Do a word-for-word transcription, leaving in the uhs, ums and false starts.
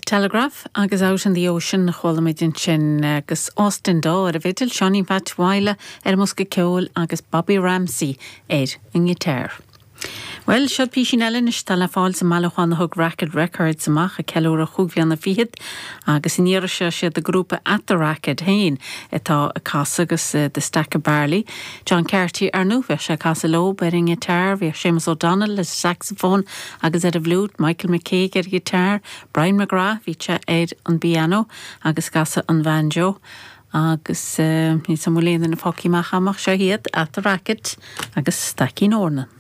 Telegraph agus Out in the Ocean chuala muid ansin agus Austin Dawe ar an bhfidil, Seáinín Pheait Mhaidhle ar an mbosca ceoil agus Bobby Ramsey ar an ngiotár. Well seo písín eile anois atá le fáil sa mbailiúchán a thug Racket Records amach ag ceiliúradh chúig bhliana fichead agus an iarraidh seo is iad an grúpa At the Racket féin atá ag casadh agus uh, The Stack of Barley. John Carty ar ndóigh bheadh sé ag casadh leo ar an ngiotár, bhíodh Seamus O'Donnell le saxophone agus ar an bhfliúit, Michael McCaig ar ghiotár, Brian McGrath bhí sé ar an bpianó agus ag casadh an banjo. agus uh, ní sam léana na fácí amach amach seo iad At the Racket agus Staicín Eornan.